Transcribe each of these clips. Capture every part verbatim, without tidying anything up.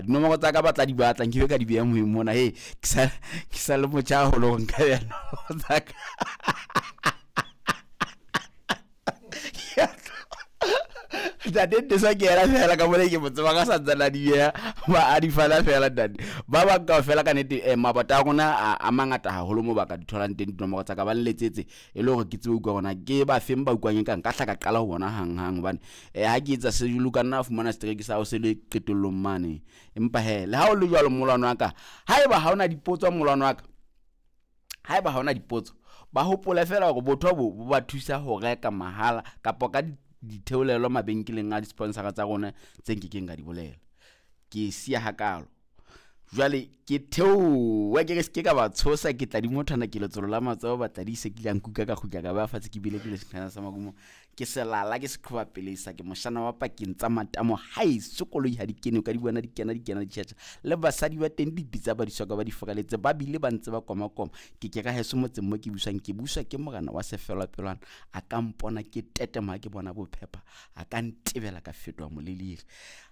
etsahala. Dinomoro tsa ka ba tla di batla, nke be ka di beha moyeng mona. He, ke sa ke sa le motjha haholo hore nka beha nomoro tsa ka. Ntate Ntesa ke yena fela ka mona ke mo tseba ka santsane a di beha, ba a di fana fela ntate. Ba bang kaofela ka nnete eh, mabota a rona a, a mangata haholo moo ba ka di tholang teng dinomoro tsa ka, ba nletsetse e le hore ke tsebe ho utlwa hore na ke ba feng ba utlwang ekang nka hla ka qala ho bona hanghang, hobane eh, ha ke etsa sejulu ka nna fumana strike sa hao se le qetellong mane. Empa he, le ha o le jwalo molwano wa ka, haeba ha ona dipotso molwano wa ka, haeba ha ona dipotso, ba hopole fela hore botho bo bo ba thusa ho reka mahala kapa ka di ditheolelo mabenkeleng a di-sponsora tsa rona tse nkekeng ka di bolela. Ke siya hakalo. Jwale ke theoha ke re se ke ka ba tshosa, ke tla di mothwana ke letsolo la matsoho ba tla di se kile a nkuka ka kgutla ka ba fatshe ke bile ke le sekhana sa marumo. Ke selala ke seqhoba pele sa ke moshana wa pakeng tsa matamo haeso koloi ha di kene, o ka di bona di kena di kena di tjhetjha. Le basadi ba teng dipitsa ba di soka ba di furaletse, ba bile ba ntse ba komakoma. Ke ke ka heso motseng mo ke buswang, ke buswa ke morena wa sefelapelwana. A ka mpona ke tetema ha ke bona bophepa, a ka ntebela ka fetoha moleliri.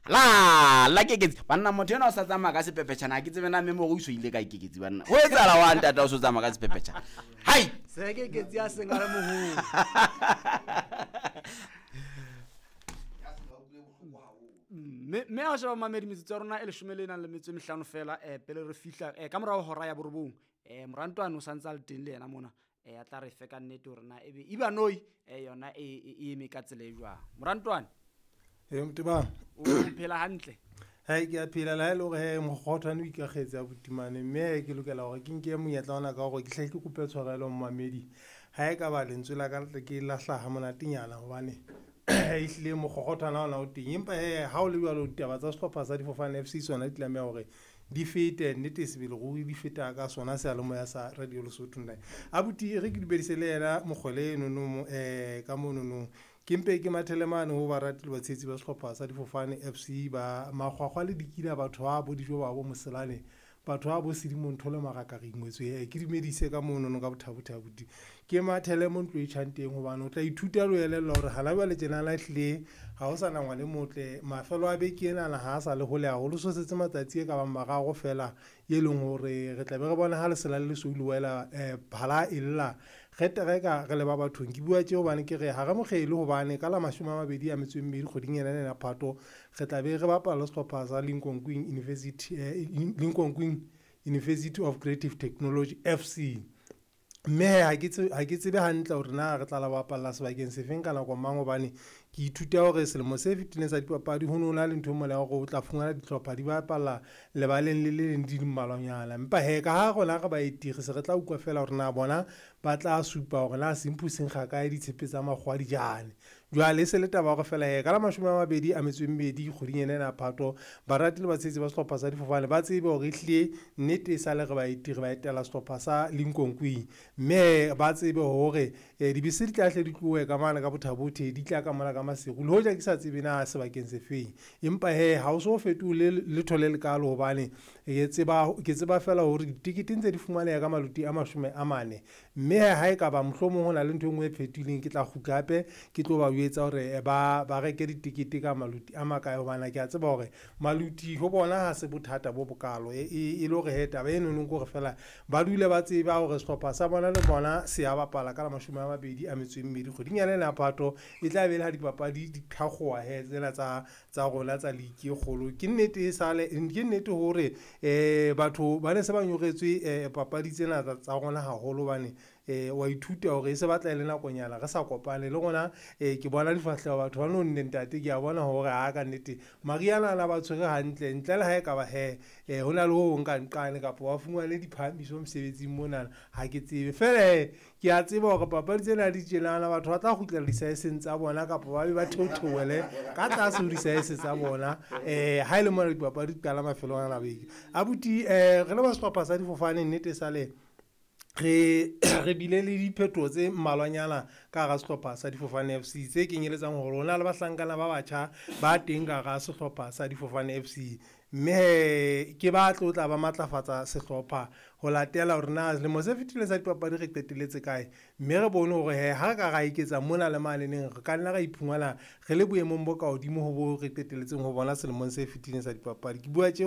La la Keketsi banna, motho enwa o sa tsamaya ka sepepetjhana, ha ke tsebe na memory o so ile kae Keketsi banna. Ho etsahala wa ntata o so tsamaya ka sepepetjhana? Hai! Se Keketsi a seng a le moholo. Mme, mme ha o sheba mamedi metsotso ya rona e leshome le nang le metso e mehlano fela, eh, pele re fihla, eh, ka morao ho hora ya borobong, eh, Morantwane o santse a le teng le yena mona, eh, a tla re fe ka nnete hore na ebe Ibanoi, eh, yona e, e, e eme ka tsela e jwang. Morantwane? Eh, Motebang. O phela hantle? Hai, ke a phela le ha e le hore he mokgothwane o ikakgetse a botimane, mme he ke lokela hore ke nke monyetla ona ka hore ke hle ke kope tshwarelo mmamedi. Ha e ka ba lentswe la ka le ke la hlaha monatenyana hobane ehlile mokgothwana ona o teng. Empa he ha o le jwalo ditaba tsa sehlopha sa Difofane F C sona di tlameha hore di fete, nnete sebele ruri di feta ka sona seyalemoya sa Radio Lesotho nna. Abuti, e re ke dumedise le yena mokgwele enono, eh, ka monono. Ke mpe ke mathele mane ho barati le batshehetsi ba sehlopha sa Difofane F C ba makgwakgwa le dikina, batho ba bo dijo ba bo moselane, batho ba bo sedimontho le maraka re ingwetswe. Eh, ke dumedise ka monono ka bothabothe abuti. Ke mathele mo ntlo e tjhang teng hobane o tla ithuta le ho elellwa hore hana jwale tjenana ehlile ha ho sa na ngwana e motle. Mafelo a beke enana ha a sa le hole haholo, so setse matsatsi e ka bang mararo fela e leng hore re tla be re bona ha lesela le lesweu le wela, eh, phala e lla. Re tereka re le ba bathong. Ke bua tje hobane ke re ha re mokgele hobane ka la mashome a mabedi a metso e mmedi kgweding ena ena ya Phato re tla be re bapala le sehlopha sa Lincoln University, eh, Lincoln University of Creative Technology F C. Mme he ha ke tsebe, ha ke tsebe hantle hore na re tla la bapalla sebakeng sefeng ka nako mang, hobane ke ithuta hore selemo se fetileng sa dipapadi ho no na le ntho e mola ya hore o tla fumana dihlopha di bapalla lebaleng le le leng di le mmalwanyana. Empa he ka ha rona re baeti re se re tla utlwa fela hore na bona ba tla supa hore na semphu se nkga kae ditshepe tsa makgowa di jane. Jwale e se le taba hore fela he ka la mashome a mabedi a metso e mmedi kgweding ena ya Phato, barati le batshehetsi ba sehlopha sa Difofane ba tsebe hore ehlile nnete e sale re baeti re ba etela sehlopha sa Lincoln Queen. Mme ba tsebe hore, eh, dibese di tla hle di tlohe ka mane ka Bothabothe, di tla ka mona ka Maseru, le hoja ke sa tsebe na sebakeng se feng. Empa he ha o so fetole letho le lekalo hobane ke tseba, ke tseba fela hore ditekete ntse di fumaneha ka maluti a mashome a mane. Mme he ha e ka ba mohlomong ho na le ntho e nngwe e fetohileng, ke tla kgutla hape ke tlo ba jwetsa hore ba, ba reke ditekete ka maluti a makae, hobane ke a tseba hore maluti ho bona ha se bothata bo bokalo. E, e, e le hore he taba eno ke hore fela ba dule ba tseba hore sehlopha sa bona le bona se a bapala ka la mashome a mabedi a metso e mmedi kgweding ya ena ya Phato. E tla be le ha dipapadi di thakgoha he tsena tsa, tsa rona tsa league e kgolo. Ke nnete e sale, ke nnete hore, eh, batho ba ne se ba nyoretswe, eh, papadi tsena tsa, tsa rona haholo, hobane, eh, wa ithuta hore e se batla e le nakonyana re sa kopane le rona. Eh, ke bona difahleho batho ba no nne ntate, ke a bona hore ha ka nnete Mariana ana ba tshwere hantle, ntle le ha e ka ba he, eh, ho na le ho hong ka nqane kapa wa fumane diphahamiso mosebetsing monana, ha ke tsebe. Fela he, ke a tseba hore papadi tsena di tjenana, batho ba tla kgutlela disaeseng tsa bona kapa ba be ba theotheole ka tlase ho disaese tsa bona, eh, ha e le mona dipapadi di qala mafelong a beke. Abuti, eh, re le ba sehlopha sa Difofane nnete sale re, re bile le diphetoho tse mmalwanyana ka hara sehlopha sa Difofane F C tse kenyeletsang hore ho na le bahlankana ba batjha ba teng ka hara sehlopha sa Difofane F C. Mme he ke ba tlo tla ba matlafatsa sehlopha ho latela hore na selemo se fetileng sa dipapadi re qetelletse kae, mme re bone hore he ha re ka ra eketsa mona le mane neng re ka nna ra iphumana re le boemong bo ka hodimo ho bo re qetelletseng ho bona selemong se fetileng sa dipapadi. Ke bua tje